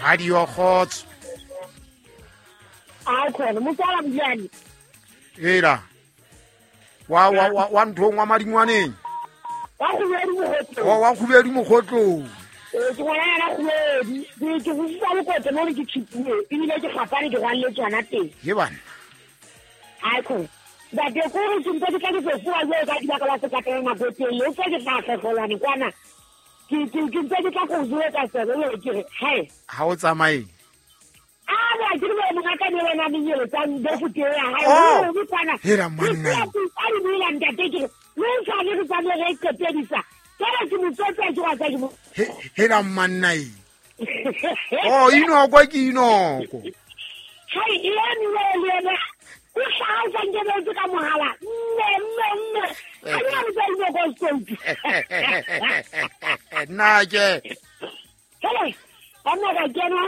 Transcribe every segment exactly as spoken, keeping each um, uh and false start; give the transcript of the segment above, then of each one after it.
Radio Kgotso. A khona motswala Mojane. Hela. Wa wa wa wa nthong wa madingwaneng. Wa kgubedi mogotlong. Wa wa kgubedi mogotlong. Eh ke ngwana ya kgubedi. Ke ke fusisa bokote mo ke tshipile. Ebile ke gapane ke rwalle tsona teng. Ye bana. A khona. Ntate ko re ke ntse ke tla ke fofuwa jwalo ka dibaka la sekatela nako e telele. O tse ke tla kgetlolwane kwana. Ke ke ke ntse ke tla go jwetsa sebe le ke re hae. Ha o tsamaye. A ba ke re mongaka ne wena menyelo tsa ndofuti ya hae. O re kwana. Hela manna. A re buela ntate ke re le sa le re tsamaye re qetedisa. Ke ke motsotsi ke wa tsa ke mo. Hela manna e. Oh inoko ke inoko. Hai e ene le ene. O hlaha nkebetse ka mohala. Mme mme mme. Ha ke na motsa inoko sekolo. Nna ke. Hele, ba nna ka kena.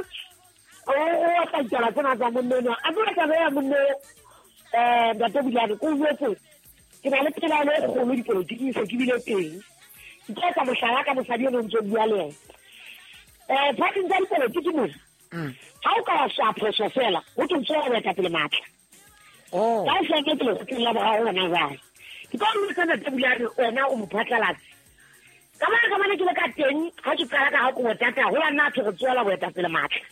O o tla tsela tsena tsa monna. A bua taba ya monna eh ntate Bulane ko jwetse. Ke na le pelaelo e kgolo dipolotiking se ke bile teng. Ke tla etsa mohlala ka mosadi eno ntse bua le yena. Eh phating tsa dipolotiki mona. Ha o ka wa shwa phoso fela, o tlo tswela boetapele matla. Oh. Ka se ke tle go la boraro wena jwale. Ke ka o tsena tse Bulane wena o mophatlalatsi. Ka mane ka mane ke le ka teng ha ke qala ka ha ko tata ho ya nna thwe re tswela boetapele matla.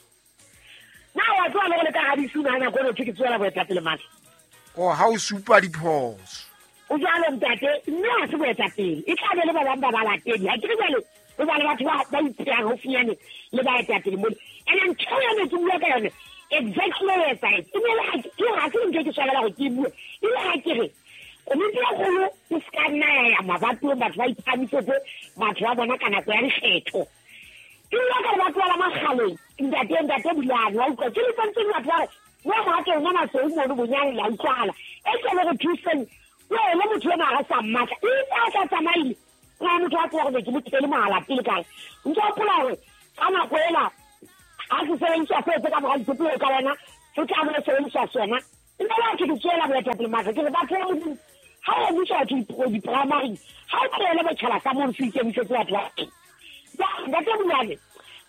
Na wa tswa le le ka ha disuna na go re ke tswela boetapele matla. Oh ha o supa diphoso. O jwalo ntate mme ha se boetapele. E tla be le ba bang ba balatedi. Ha ke re jwale o ba le batho ba ba ipeyang haufinyane le baetapele mole. Ene ntho ya ne ke bua ka yone. Exactly what I said. E le ha ke ha ke ntse ke swabela go ke bue. E le ha ke re komiti ya kgolo e ska nna ya ya mabatong batho ba iphamisetse batho ba bona ka nako ya dikgetho. Ke bua ka batho ba makgaleng ntate ntate Bulane wa utlwa ke le tsentse batho ba re wa mohato ona masweu mono bonyane la utlwahala. E ke le go thuseng wena motho ena ga sa mmatla e tla tla tsamaile. Ka motho a tswa gore ke mo thele mohala pele kae. Ntse o pola hore ka nako ela ha se sebediswa se tse ka mora dipolelo ka wena se tla bo sebediswa sona. Nna la ke tswela boetapele matla ke re batho ba Modimo ha o busa batho di-primary ha o tlohele botjhaba sa mono se ikemisetse batho ba teng. Ntate Bulane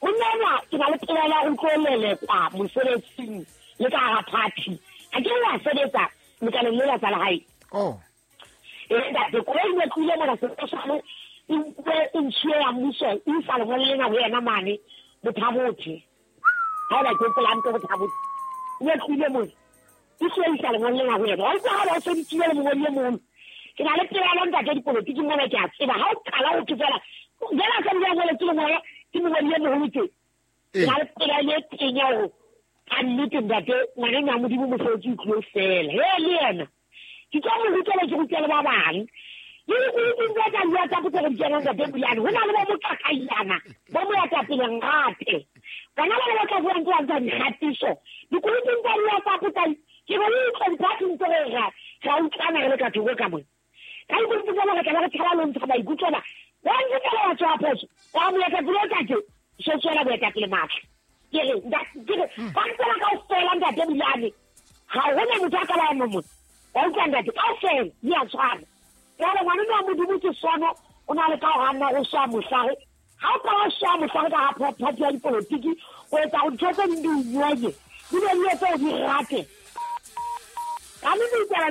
monna enwa ke na le pelaelo ya ho tlo lelekwa mosebetsing le ka hara party. Ha ke wa sebetsa lekaleng lela tsa lehae. Oh. E ntate koloi ne tlohile mona sepetlele e nkuwe e ntshuwe ya mmuso e isa lengolo lena ho yena mane Bothabothe. Ha ba ke polante Bothabothe. Ne tlohile mona. E tlo isa lengolo lena ho yena. Wa utlwa ha ba o sebeditsile le mongodi e mong. Ke na le pelaelo ntate dipolotiki mona ke a tseba. Ha o qala ho thwe fela jwale a sa bua ngoletse lengolo ke mongodi e moholo tje. Ke na le pelaelo e teng ya hore ka nnete ntate ngwaneno wa Modimo mosebetsi o tlilo fela. He le yena. Ke tlo mo rutela ke rutele ba bang. Le dikoloting tse tsa bua tsa potso re di kenang ntate Bulane. Ho na le bo moqaqailana bo moetapele ngate. Bana ba le ba tla buang ke ba ntsha dikgatiso. Dikoloting tsa bua tsa potso ke bo utlwa diphathing tse re ra ra utlwana re le ka thoko ka mona. Ka dikoloting tsa bona re tla be re tshaba le ho ntsha maikutlo ba. Wa ntse fela wa tswa phoso. Wa moetapele o tla ke so tswela boetapele matla. Ke re ke re ba ntsela kaofela ntate Bulane. Ha hona motho a ka ba mong. Wa utlwa ntate kaofela di a tshwana. Jwale ngwaneno wa Modimo ke sono o na le ka ho hanna o swa mohlare. Ha o ka wa swa mohlare ka ha party ya dipolotiki o etsa hore dintho tse ding di o nyonye. Di be di etse o di rate. Ka nnete ditaba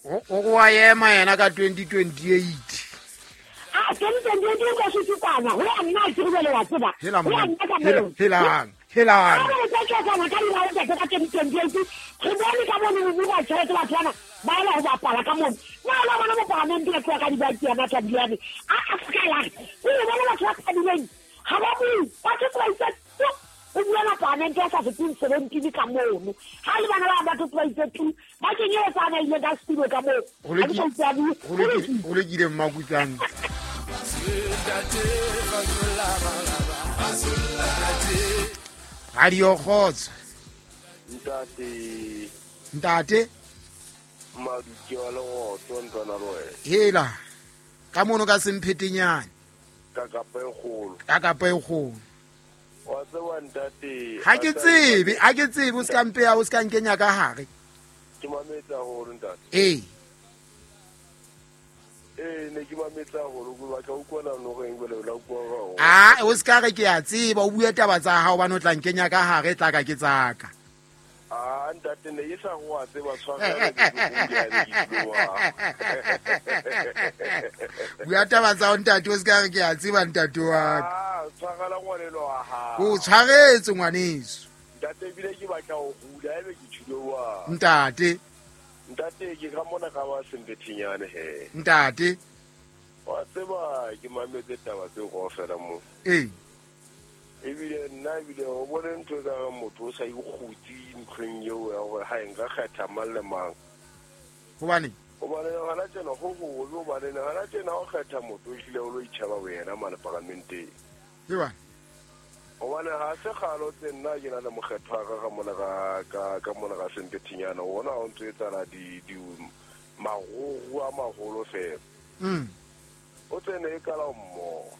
O go wa ema yena ka twenty twenty-eight. Ah twenty twenty-eight o ka se kwana. Ho ya nna ke re le wa tseba. Ho ya nna ka mo. Helang. Helang. Ha re tla tla ka dira o ka twenty twenty-eight. Re bone ka bone mo bua tjhelete batho bana ba ela ho bapala ka mono. Na la bona mo parliament ya tloha ka dibaki ya matla Bulane. A a ska la. O le bona batho ba thabileng. Ha ba bue. Batho ba itse o bua na parliament ya sa fifteen seventeen ka mono. Ha le bana ba batho ba itse two ba kenyetsa na ile ka studio ka moo. Ho le ho le kile mmakutsane. Radio Kgotso. Ntate. Ntate. Maduke wa Legotlo ntlwana le wena. Hela. Ka mono ka semphetenyane. Ka kapa e kgolo. Ka kapa e kgolo. Wa tseba ntate. Ha ke tsebe, ha ke tsebe o ska mpeya o ska nkenya ka hare. Ke mametse haholo ntate. Eh. Eh ne ke mametsa haholo ke batla ho utlwa no reng bele la utlwa ho. Ah o ska re ke a tseba o bue taba tsa hao bana o tla nkenya ka hare tla ka ke tsaka. Ah ntate ne ke sa go a tseba tshwarela ke go Bua taba tsa ntate o ska re ke a tseba ntate wa ka. Ah tshwarela ngwanelo wa hao. O tshwaretse ngwaneso. Ntate ebile ke batla ho hula ebe ke tshilo wa. Ntate Ntate ke ka mona ka ba sembethinyane he. Ntate wa tseba ke mametse taba tseo kaofela mo. Eh. Ebile nna ebile o bone ntho ka motho o sa ikgutse ntlheng eo ya hore ha nka kgetha mang le mang. Hobane hobane hona tjena ho ho hobane hona tjena o kgetha motho o hlile o lo itjheba wena mane parlamenteng. Ke bana hobane ha se kgalo tse nna ke na le mokgetho wa ka ka mona ka ka ka mona ka sembethinyana ona o ntse etsana di di magogo a maholo fela. Mm. O tsene e kala mmo.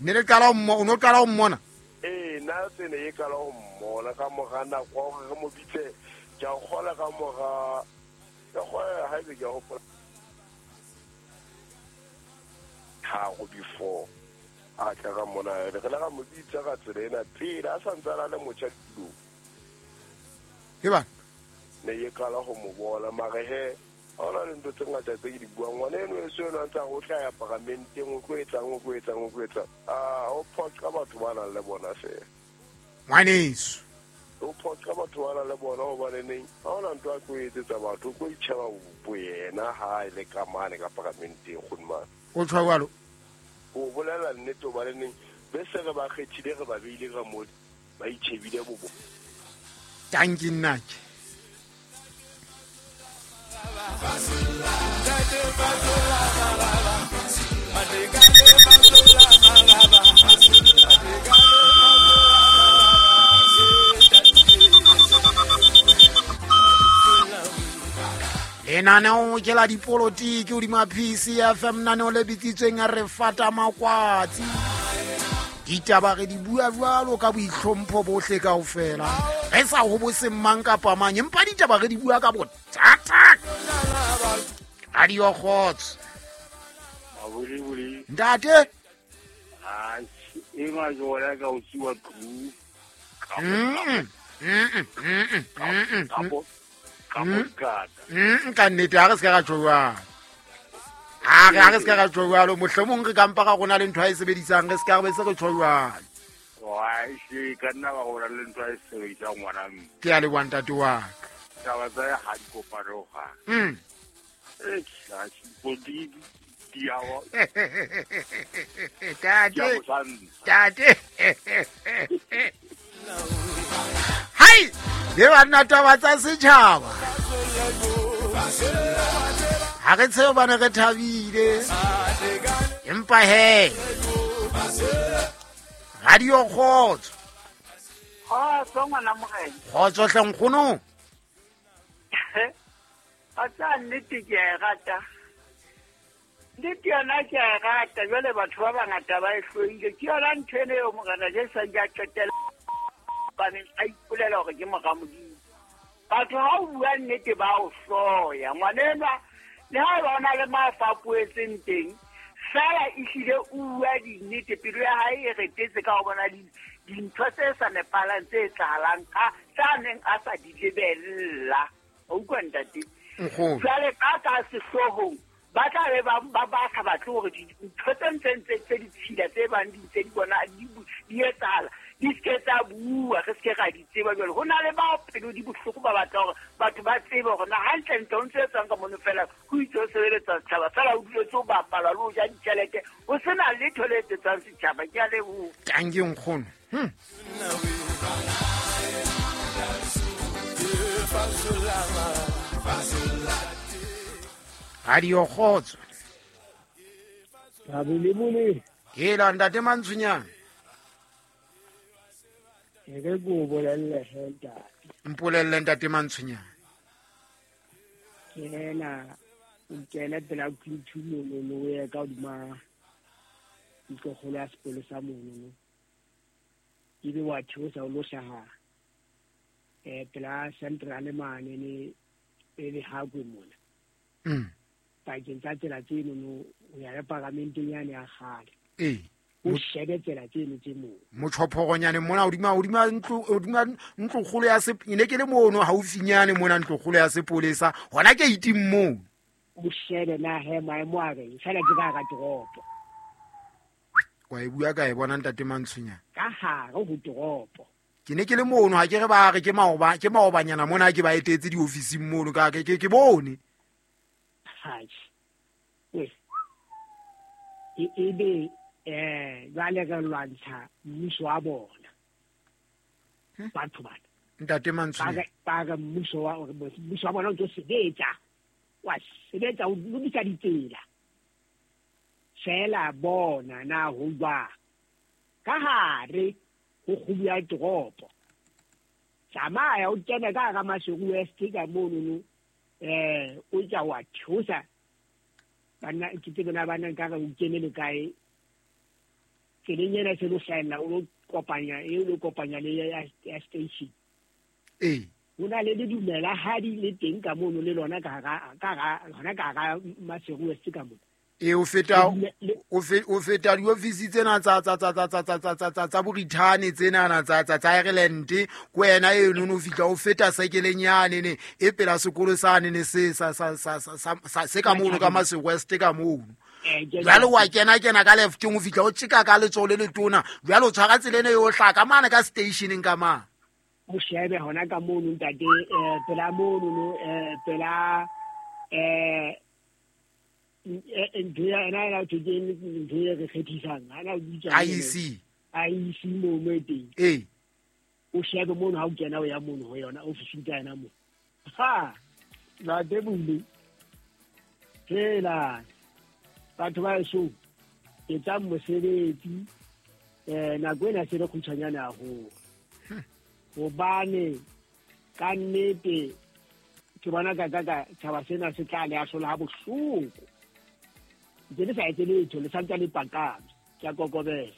Ne le kala mmo o no kala mmona. Eh na tsene e kala mmona ka mora nako hore re mo bitse ke a kgola ka mora ka kgola ha ebe ke a hopola tharo before a tla ka mona re la ka mo bitsa ka tsela ena pele a sa ntse a le motjha tulong. Ke ba ne e kala ho mo bona mare he ha ona le ntho tse ngata tse ke di buang ngwana eno e so eno a ntse a go tla ya paramenteng o tlo etsang o tlo etsang o tlo etsang a o phoqa batho ba nang le bona fela ngwaneso o phoqa batho ba nang le bona hobane neng ha ona ntho a tlo etsetsa batho o tlo itjheba boyena ha e le ka mane ka paramenteng kgonmane o tshwa jwalo o bolela nnete hobane neng be se re ba kgethile re ba beile ka mo ba itjhebile bobo. Tanki nnake. Lenaneo ke la dipolotiki hodima P C F M naneo le bitsitsweng a re fata makwatsi. Ditaba re di bua jwalo ka boitlhompho bohle kaofela. Re sa hobose mang kapa mang empa ditaba re di bua ka bothata. Radio Kgotso. Mabulibuli. Ntate. Ah, e majora ka o siwa tlu. Mm. Mm. Mm. Mm. Mm. Mm, ka nnete ha re se ka ra tjho jwalo. Ha re ha re se ka ra tjho jwalo mohlomong re kampa ka rona le ntho a e sebedisang re se ka re be se re tjho jwalo. Wa e ka nna ba rona le ntho a e sebedisang ngwana mme. Ke a leboha ntate wa ka. Taba tsa ha di kopano ga. Mm. Eh, ha di di a wa. Tate. Tate. Hai, le banna taba tsa setjhaba. Ha re tsebe bana re thabile. Empa he. Radio Kgotso. Kgotso ngwana morena. Kgotso hle nkgono. A tsa nnete ke a e rata. Nnete yona ke a e rata jwale batho ba bangata ba e hloile. Ke yona ntho eno eo morena Jesu a ile a qetela baneng a ipolela hore ke mora Modimo. Batho ha o bua nnete ba o hloya. Ngwana enwa le ha eba o na le mafa a poetseng teng fela ehlile o bua dinnete pelo ya hae e retetse ka ho bona dintho tse sa nepahalang tse etsahalang ka tsa neng a sa di lebella. O utlwa ntate? Jwale ka ka sehloohong ba tla be ba ba ba sa batle hore dintho tse ntseng tse tse ditshila tse bang di ntse di bona di di etsahala di se ke tsa bua re se ke ra di tseba jwale ho na le bao pelo di bohloko ba batla hore batho ba tsebe hore na hantle ntle o ntse etsang ka mono fela ho itse o sebeletsa setjhaba fela o duletse o bapala le ho ja ditjhelete o sena letho le etsetsang setjhaba. Ke a leboha. Tanki nkgono. Hm. Radio Kgotso. Mabulibuli. Hela ntate Mantshunyana. E re ko bolelle he ntate. Mpolelle ntate Mantshunyana. Ke ena o kena pela Q two mono o ye ka hodima ntlokgolo ya sekolo sa mono. Ebe wa theosa o lo hlaha eh pela Central mane ne e le Hagwe mona. Mm. Pakeng tsa tsela tseno no ho ya le paramenteng yane ya kgale. Ee. O shebe tsela tseno tse moo. Motjhophoronyane mona hodima hodima ntlo hodima ntlo kgolo ya se ne ke le mono haufinyane mona ntlo kgolo ya sepolesa hona ke iting moo. O shebe na he maemo a reng fela ke ka hara toropo. Wa e bua ka e bona ntate Mantshunyana. Ka hare ho toropo. Ke ne ke le mono ha ke re ba re ke maoba ke maobanyana mona ke ba etetse diofising mono ka ke ke bone. Haji. E e be eh jwale re lwantsha mmuso wa bona. Batho bana. Ntate Mantshunyana. Ba re mmuso wa mmuso wa bona o tlo sebetsa. Wa sebetsa o lokisa ditsela. Fela bona na ho jwang. Ka hare ho kgubu ya toropo. Tsamaya o kene ka hara Maseru West ka mono no. Eh o tla wa thusa. Bana ke tsebe na bana nka re o kene le kae. Tseleng ena se lo hlahella o lo kopanya e lo kopanya le ya ya station. Ee. Ho na le ledumela hadi le teng ka mono le lona ka hara ka hara hona ka hara Maseru West ka mono. E o feta o fe o feta diofisi tsena tsa tsa tsa tsa tsa tsa tsa tsa tsa Borithane tsena na tsa tsa tsa Ireland ko wena e no no fihla o feta sekeleng yane ne e pela sekolo sane ne se sa sa sa sa se ka mono ka Maseru West ka mono. Jwale wa kena kena ka lefteng o fihla o tjeka ka letsoho le letona jwale o tshwara tsela ena e o hlaka mane ka stationeng ka mane. O shebe hona ka mono ntate eh pela mono no eh pela eh ntho ya ena ena ke ntho e re kgethisang ana o bitsa I E C I E C mo mo teng. Ee. O shebe mono ha o kena o ya mono ho yona ofising tsa yena mo. Ha la debule fela batho ba eso etsang mosebetsi eh nako ena se re khutshwanyane haholo. Hobane ka nnete ke bona ka ka ka tshaba sena se tla le ahlola ha bohloko. Ke le sa etse letho le santse le pakame ke a kokobela.